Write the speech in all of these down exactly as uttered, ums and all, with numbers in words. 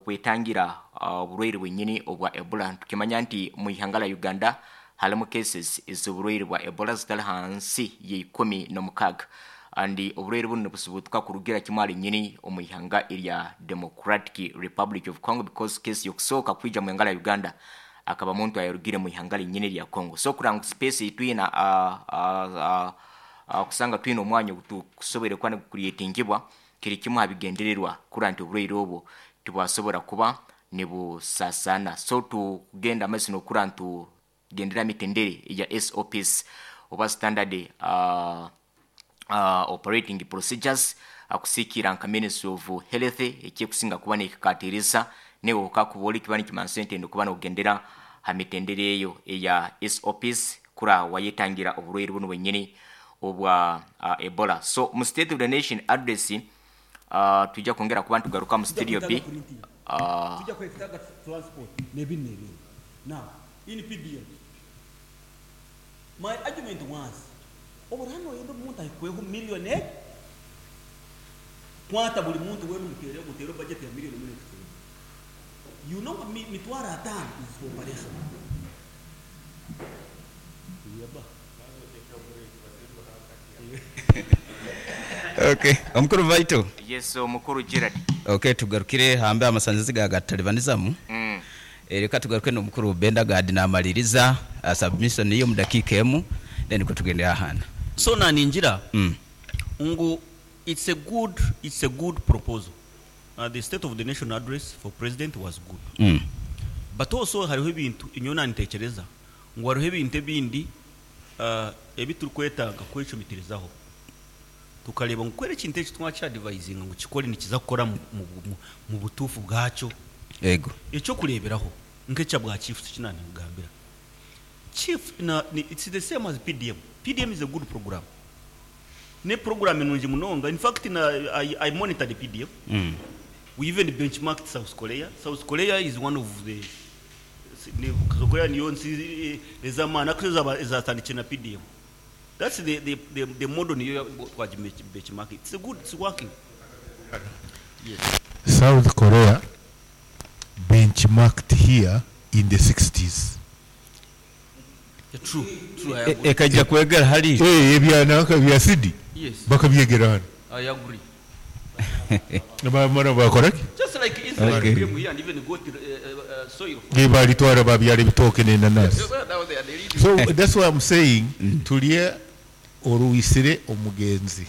okwetangira oburwaire bwenyini obwa Ebola. Tukimanya nti mu ihanga la Uganda halimu cases ez'oburwaire bwa Ebola zitali hansi y'ikumi n'omukaaga, and oburwaire buno nibusibutuka kurugira kimwe ali nyini omu ihanga erya Democratic Republic of Congo, because case yokusooka kwija mu ihanga la Uganda akaba muntu ayarugire mu ihanga linyini lya Congo. So kuranga space itwina uh, uh, uh, uh, kusanga twina omwanya ogutukusobore kuba nigucreatingibwa kiri kimwe habigendererwa kura nti oburwaire obwo tibwasobora kuba nibusasana. So tugenda amaiso nokura ntu gendera mitendere ya S O Ps oba standard uh, uh, operating procedures akusikira nka Ministry of Health ekikusinga kuba nekikatirisa newe okakuboli kiba nikimansa nti kuba nokugendera ha mitendere eyo eya S O Ps kura wayetangira oburwaire buno bwenyini obwa uh, Ebola. So mu State of the Nation address uh, tujja kwongera kuba ntugaruka mu studio B. Uh, tujja kwetaaga transport n'ebindi n'ebindi. Now in P D M my argument was oburano yendo omuntu ahikweho millionaire kwata buli muntu wenu mutere mutere budget ya million million. You know mi, mitwara atano is for operation. Yaba. Okay, omukuru Vaito. Yes, omukuru Gerard. Okay, tugarukire hambe amasanzizi gagatalibanizaamu. Mm. Reka tugaruke n'omukuru Benda Gad namaliriza uh, submission iyo mu dakiika emu then ko tugende ahana. So naninjira mm. ngu it's a good it's a good proposal. Uh, the State of the Nation address for president was good. Mm. But also hariho ebintu inyona nitekereza ngu hariho ebintu ebindi uh, ebiturikwetaaga kwecumitirizaho tukareba ngu kwera ekintu eki twakya-advisinga ngu kikore nikiza kukora mu, mu, mu, mu butuufu bwakyo. Ego. Ekyokureeberaho nk'ekya bwa chief kinanigambira. Chief na, ni, it's the same as P D M. P D M is a good program. Ne program nungi munonga. In fact na, I, I monitor the P D M. Mm. We even benchmarked South Korea. South Korea is one of the South Korea niyo nsi ezamana kuzo ezatandikira na P D M. That's the the the, the model niyo twaji benchmark. It's a good, it's working. Yes. South Korea benchmarked here in the sixties. Yeah, true, true, I agree. Ekajja kwegera hali. Eh, ebya nanka bya sidi. Yes. Bakabyegera hano. I agree. Bamara bakora ki? Just like Israel Okay. came here and even got uh, uh, soil. Balitwara babyala ebitooke n'enanasi. So that's why I'm saying mm. tulye oruwisire omugenzi.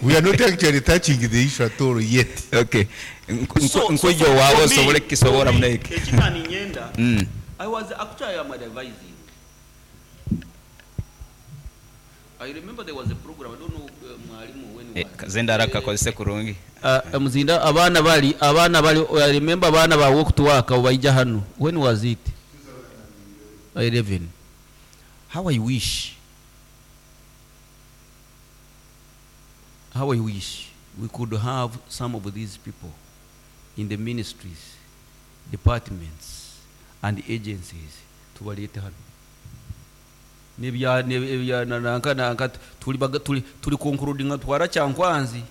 We are not actually touching the issue at all yet. Okay. Nkujo wawo sobole kisobora muneke. Ekitani nyenda. Mm. I was actually am advising. I remember there was a program, I don't know uh, mwalimu when eh, was. Kazenda haraka kozese kurungi. Uh, muzinda abana bali abana bali I remember abana ba walk to work baija hano. When was it? eleven. How I wish. How I wish we could have some of these people in the ministries, departments, and agencies tubalete hano. Nebya nebya nanka nanka tuli tuli tuli concluding twara Kyankwanzi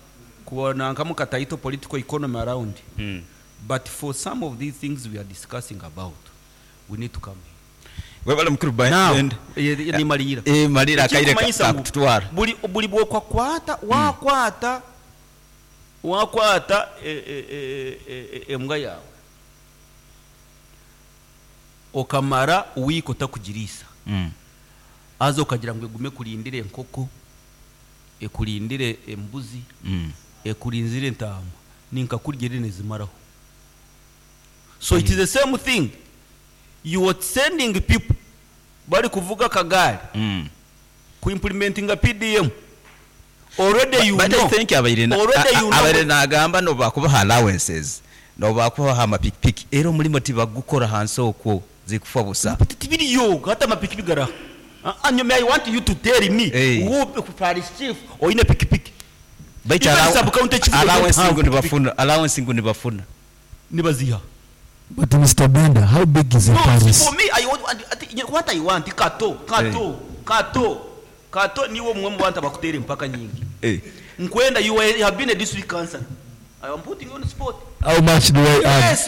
kuba nanka mukataito political economy around. Mm. But for some of these things we are discussing about, we need to come here. Webale mukuru Bend. Ni malira. Eh malira akaire kakutwara. Buli buli bwokwakwata wakwata wakwata embwa yawe. Okamara wiko takugirisa. Mm. Azo kagira ngo egume kurindire enkoko, ekurindire embuzi, mm. ekurinzire entama, ninka kurya nezimaraho. So mm. it is the same thing. You are sending people bari kuvuga kagari mm. ku implementing a P D M. Already you but know. I think abaire na abaire nagamba no bakubaha allowances no bakubaha amapikipiki era omulimo tibagukora hansi okwo zikufa busa. Tibiriyo hata amapikipiki gara. And I want you to tell me hey. who parish chief or in a pikipiki. Allowance ngu nibafuna, allowance ngu nibafuna. Nibaziha. But Mister Benda, how big is the no, parish? For me, I want what I want. Kato, kato, hey. kato, kato. Niwo mwe mwanta bakutere mpaka nyingi. Hey. Nkwenda, you have been a district councillor. I am putting you on the spot. How much do I add? Yes.